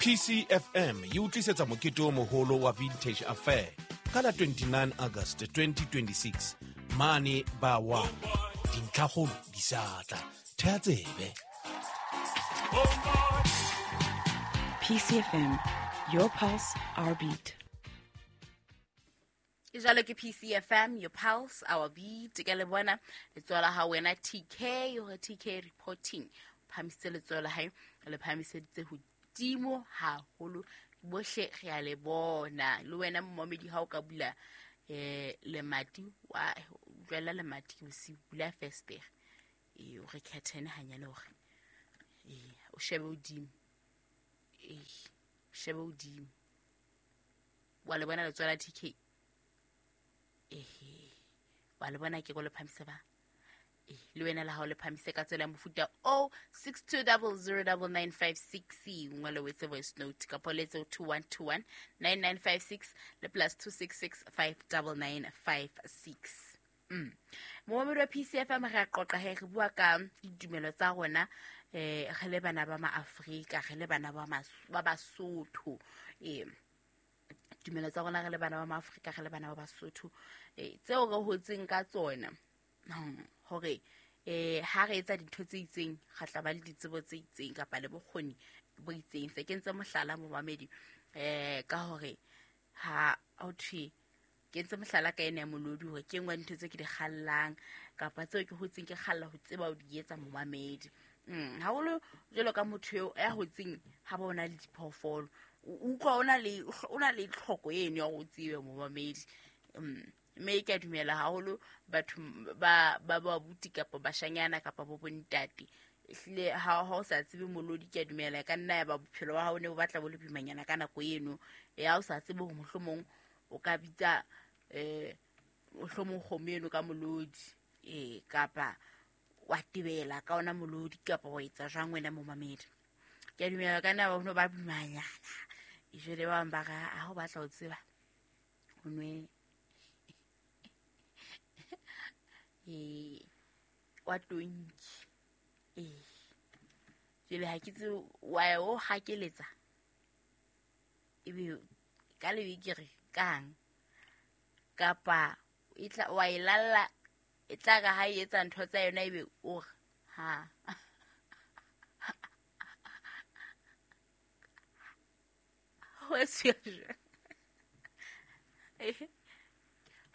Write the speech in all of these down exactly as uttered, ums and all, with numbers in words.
P C F M e o tlisetsa mokete o moholo wa Vintage Affair ka la twenty-nine August twenty twenty-six mane ba wa dintlhakgolo di sa tla. Theha tsebe. P C F M, your pulse, our beat. Ke jalo ke P C F M, your pulse, our beat. Ke le bona letsoho la hao wena T K, hore T K reporting. Phamisitse letsoho la hae, le phamiseditse hodimo haholo. Bohle re a le bona. Le wena momedi ha o ka bula eh lemati wa jwala lemati ke bosiu, bula festere. Eh o re curtain hanyane hore eh o shebe hodimo. Eh shebe hodimo. Wa le bona letsoho la T K. Eh wa le bona ke go le phamise ba. Eh le wena la hao le phamise ka tsela ya mofuta o six two zero zero nine nine five six nngwe le wetse voice note ka poletse two one two one nine nine five six le plus two six six five nine nine five six. Mm. Momedi wa P C F M re a qoqa he re bua ka ditumelo tsa rona eh re le bana ba maAfrika, re le bana ba ba Basotho. Eh tumelo tsa rona re le bana ba maAfrika, re le bana ba Basotho eh tseo re hotseng ka tsona hore eh ha re etsa dintho tse itseng ga tla ba le ditsebo tse itseng kapa le bokgoni bo itseng. Se ke ntse mohlala momamedi eh ka hore ha o thwe ke ntse mohlala ka ena ya molodi hore ke nngwe dintho tse ke di kgallang kapa tseo ke hotseng ke kgalla ho tseba ho di etsa momamedi. Mm haholo jwalo ka motho eo ya hotseng ha ba ona le diphoofolo o utlwa ona le ona le tlhoko eno ya ho tsebe momamedi. Mm mme ke a dumela haholo batho ba ba ba buti kapa bashanyana kapa bo bontate ehlile ha ha o sa tsebe molodi ke a dumela ka nna ya ba bophelo ba hao ne bo batla bo le boimanyana ka nako eno ya o sa tsebe hore mohlomong o ka bitsa eh mohlomong kgomo eno ka molodi eh kapa wa tebela ka ona molodi kapa wa etsa jwang wena momamedi. Ke a dumela ka nna ba no ba boimanyana e jwale ba bang ba re ha o batla ho tseba o nwe eh wa tonki eh jele ha ke tse wa o hakeletsa ebe ka le bikere kang kapa e tla wa e lalla e tla ka ha e etsa ntho tsa yona ebe o re ha ho se eh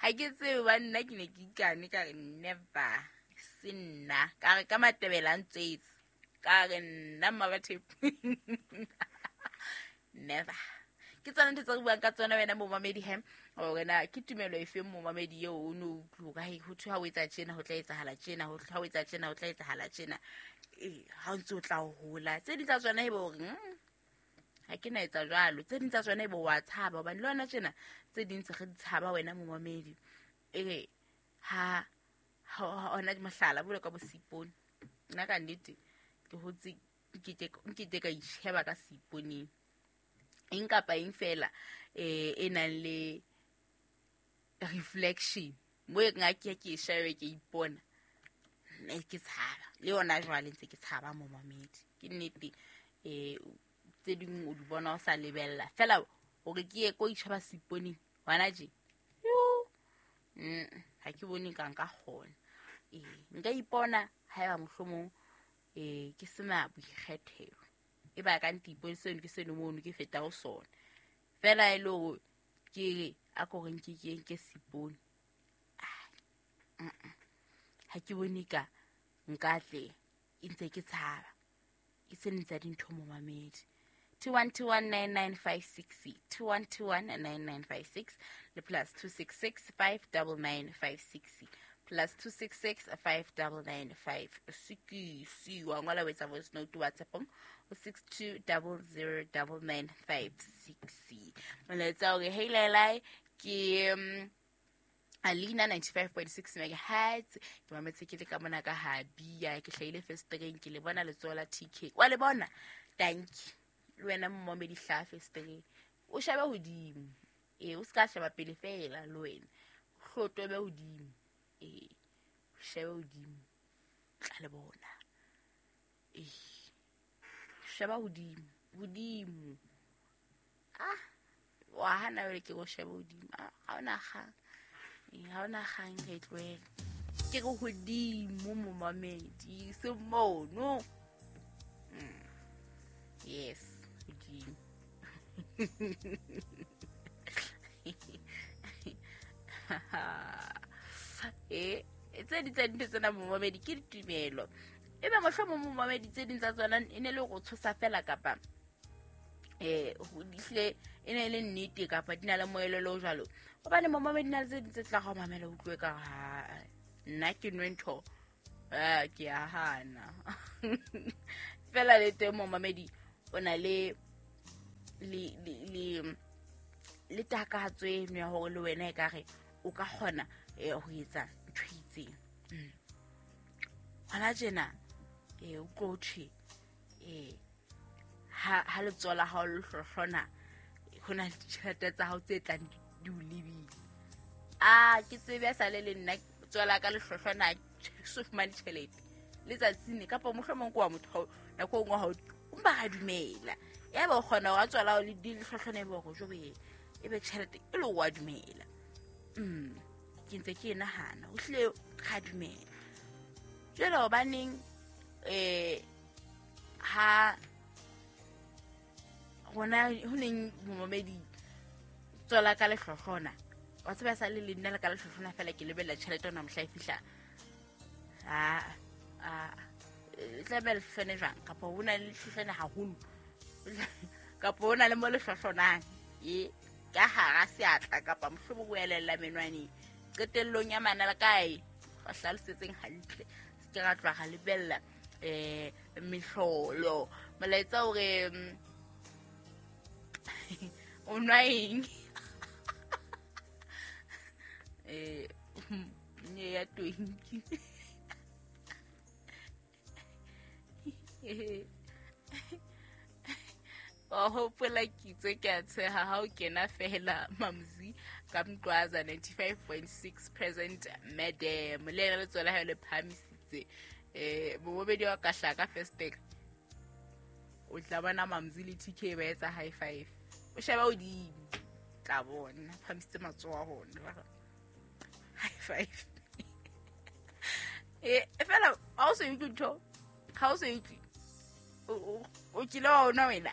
ha ke tsebe ba nna ke ne ke ikane ka re never se nna ka re ka matebela ntswetse ka re nna mmabathe never. Ke tsona ntho tse re buang ka tsona wena momamedi he hore na ke tumelo efe momamedi eo o no utlwa ka ho thwe ha o etsa tjena ho tla etsahala tjena, ho thwe ha o etsa tjena ho tla etsahala tjena eh ha o ntse o tla hola tse ding tsa tsona ebe hore ha ke na etsa jwalo, tse ding tsa tsona ebe wa tshaba hobane le yona tjena tse ding tse re di tshaba wena momamedi eh ha ha ona mohlala bolo ka bosipone nna ka nnete ke hotse ke ke ke ka itsheba ka siponeng eng kapa eng fela eh e nang le reflection mo e nka ke ke shebe ke ipona nne ke tshaba le yona jwale ntse ke tshaba momamedi ke nnete eh tse ding o di bona o sa lebella fela hore ke ye ko itjhaba siponeng hona je yo mm ha ke bone ka nka kgona eh nka ipona haeba mohlomong eh ke sena boikgethelo e ba ka ntipo seno ke seno mono ke feta ho sona fela e le hore ke re a ko re nke ke nke sipone ha ke bone ka nka tle e ntse ke tshaba ke se ntse dintho momamedi. Two one two one nine nine five six two one two one nine nine five six le plus two six six five double nine five six plus two six six five double nine five six. Wa ngola wetsa voice note WhatsApp o six two double zero double nine five six. Molaetsa o re hey Lelai ke um, Alina ninety-five point six megahertz ke mametse ke le ka mona ka habia ke hlaile festereng ke le bona letsoho la T K wa le bona thank you le wena momedi hla festereng o shebe hodimo eh o ska sheba pele fela le wena hlotobe hodimo eh shebe hodimo tla le bona eh sheba hodimo hodimo Ah, wa hana jwale ke go shebe hodimo. Ah, ha ona kgang. Eh, ha ona kgang re tlohele. Ke re hodimo momamedi, se mono. Mm. Yes, hodimo. Eh, tse di tsa dintho tsena momamedi ke ditumelo. Ebe mohlomong momamedi tse ding tsa tsona e ne le go tshosa fela kapa eh ho dihle e ne le nnete kapa di na le moelelo o jwalo. Hobane momamedi na le tse ding tse tla go mamela o utlwe ka ha nna ke nwe ntho eh ke a hana. Fela le teng momamedi o na le le le le takatso eno ya hore le wena e ka re o ka kgona ho etsa ntho e itseng. Hona tjena eh o tlo thwe eh ha ha letsoho la hao le hlohlona ho na le ditjhelete tsa hao tse tlang di o lebile. Ah, ke tsebe ya sale le nna letsoho la ka le hlohlona so fumane tjhelete letsatsing kapa mohlomong ke wa motho nako e nngwe ha o mpa ra dumela. Ya ba o kgona hore a tswela hao le di le hlohlona ebe hore jobe ebe tjhelete e le wa dumela. Mm, ke ntse ke e nahana o hlile ra dumela. Jwale hobaneng eh ha rona ho neng momamedi tswela ka lehlohlona wa tseba sa le le nna le ka lehlohlona fela ke lebella tjhelete ona mohla e fihla. Ah ah tla be lehlohlone jwang kapa ho na le lehlohlone haholo kapa ho na le mo lehlohlonang e ka hara seatla kapa mohlomong o elella menwaneng qetellong ya mana la kae ba hlalosetseng hantle se ke ra tloha ra lebella eh mehlolo molaetsa hore o nwa eng eh nye ya twenty wa hopola kitso ke a tsheha ha o kena fela Mamzi ka Mqwaza ninety-five point six present madam le ena letsoho la hae le phahamisitse eh bobedi wa ka hlaka first take o tla bona Mamzi le T K ba etsa high five o sheba hodimo tla bona phahamisitse matsoho a hona high five eh fela ha o so utlwe ntho ha o so utlwe o kile wa ona wena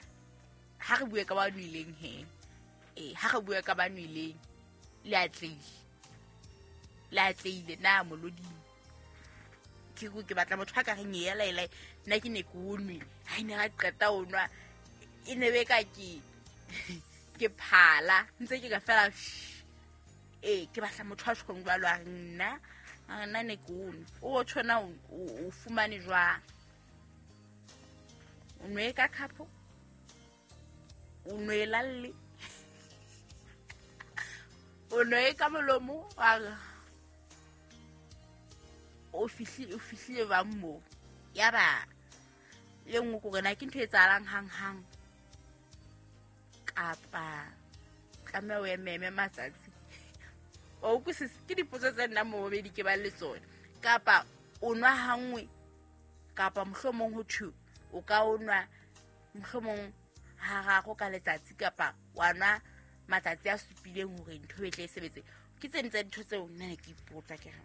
ha re bue ka ba nweleng he eh ha re bue ka ba nweleng le atleile le atleile na moloding ke go ke batla motho a ka reng yela ela nna ke ne ke o nwe ha ine ra qeta o nwa e ne be ka ke ke phala ntse ke ka fela eh ke batla motho a tshong jwalo a reng nna nna ne ke o nwe o tshona o fumane jwang o nwe ka khapo o nwe lalle o nwe ka molomo wa o fihlile o fihlile ba mo ya ba le nngwe ko rena ke ntho e tsalang hang hang kapa tlameha o ememe matsatsi o utlwisise ke dipotso tse nna momamedi ke ba le tsona kapa o nwa hangwe kapa mohlomong ho thwe o ka o nwa mohlomong hararo ka letsatsi kapa wa nwa matsatsi a supileng hore ntho e tle e sebetse ke tse ding tsa dintho tseo nna ne ke ipotsa ke re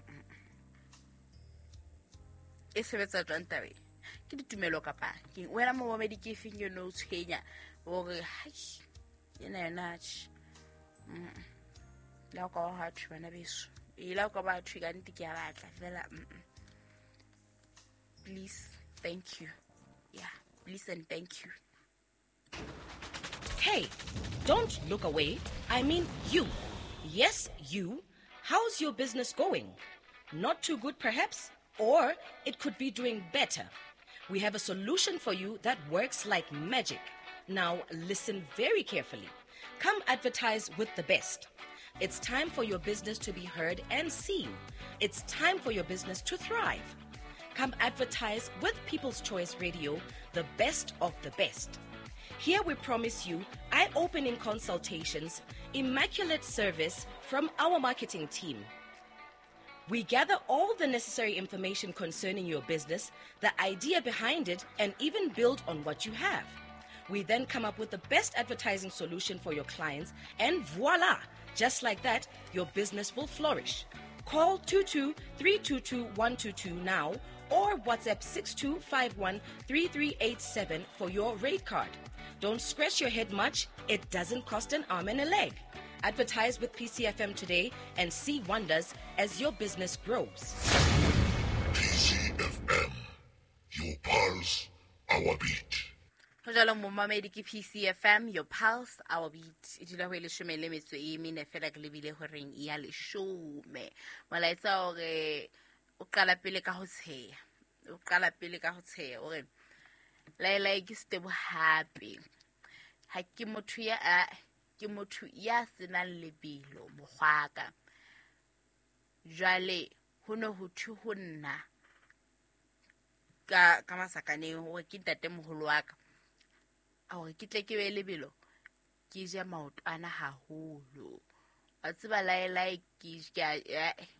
e sebetsa jwang tabeng ke ditumelo kapa ke wena momamedi ke efeng eno o tshwenya hore hai ena yona atjhe la o ka wa thwe bana beso e la o ka ba thwe ka nnete ke a batla fela please thank you yeah please and thank you. Hey, don't look away. I mean you. Yes, you. How's your business going? Not too good, perhaps? Or it could be doing better. We have a solution for you that works like magic. Now, listen very carefully. Come advertise with the best. It's time for your business to be heard and seen. It's time for your business to thrive. Come advertise with People's Choice Radio, the best of the best. Here we promise you eye-opening consultations, immaculate service from our marketing team. We gather all the necessary information concerning your business, the idea behind it, and even build on what you have. We then come up with the best advertising solution for your clients, and voila! Just like that, your business will flourish. Call two two three two two one two two now or WhatsApp six two five one three three eight seven for your rate card. Don't scratch your head much, it doesn't cost an arm and a leg. Advertise with P C F M today and see wonders as your business grows. P C F M, your pulse, our beat. Ho jwalo momamedi ke P C F M, your pulse, our beat. E dula ho e leshome le metso e mene fela ke lebile horeng ya leshome. Molaetsa hore o qala pele ka ho tsheya. O qala pele ka ho tsheya hore laelai ke Stebo hape. Ha ke motho ya a ke motho ya senang lebelo mokgwaka. Jwale ho ne ho thwe ho nna ka ka masakaneng hore ke ntatemoholo wa ka. Hore ke tle ke be lebelo ke je maotwana haholo. Wa tseba laelai ke ke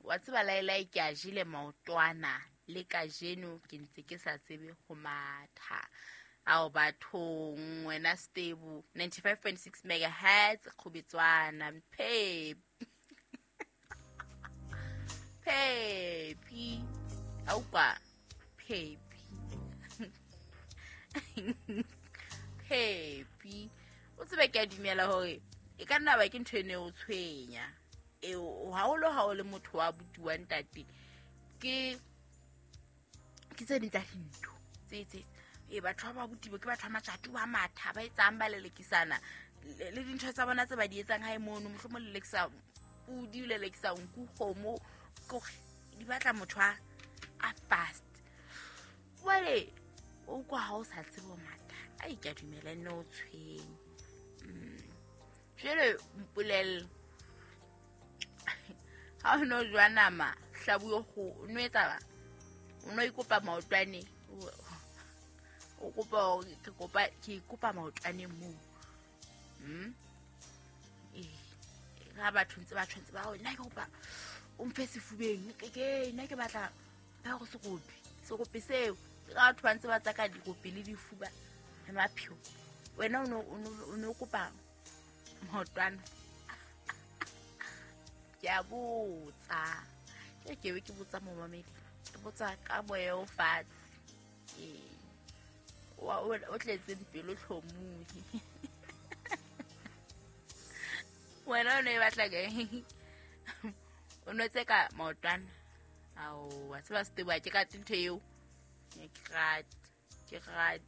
wa tseba laelai ke a jele maotwana le kajeno ke ntse ke sa tsebe ho matha. Ao bathong wena Stebo ninety-five point six megahertz Kgobetswana Pep. Pepi. Aupa Pepi. Pepi. O tsebe ke a dumela hore e ka nna ba ke ntho e ne o tshwenya. E haholo ha o le motho wa abuti wa ntate ke ke tse ding tsa dintho tse tse e batho ba abuti ke batho ba matjatu ba matha ba etsang ba lelekisana le dintho tsa bona tse ba di etsang hae mono mohlomong lelekisa pudi o lelekisa nku kgomo kore di batla motho a a fast. Jwale o kwa ha o sa tsebe ho matha ai ke a dumela nne o tshwenye. Jwale mpolelle ha o no jwa nama hlabu yo kgo o no etsa ba o no ikopa maotwane o kopa hore ke kopa ke ikopa maotwane moo. Mm eh ha batho ntse ba tshwantse ba nna ke kopa o mphe sefubeng ke ke nna ke batla ba go sekopi sekopi seo ke batho ba ntse ba tsaka dikopi le difuba le mapheo wena o no o no kopa maotwana. Ke a botsa ke ke be ke botsa momamedi ke botsa ka moya o fatshe ee wa o tletseng pelo tlhomohi. Wena o ne batla ke o no tseka maotwana ao wa tseba Stebo ke ka ntho eo ke rate ke rate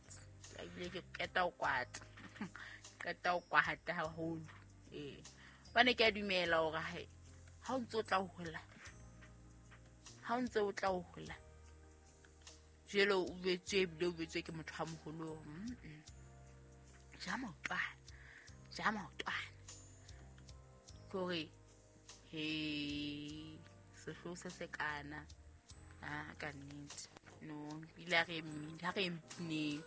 ebile ke qeta ho kwata qeta ho kwata haholo. Ee bane ke a dumela hore hae ha o ntse o tla ho hola ha o ntse o tla ho hola jelo o betswe ebile o betswe ke motho a moholo. Ja maotwana ja maotwana kore he sehlo se se kana a ka nnete no ile re ha re mpineng.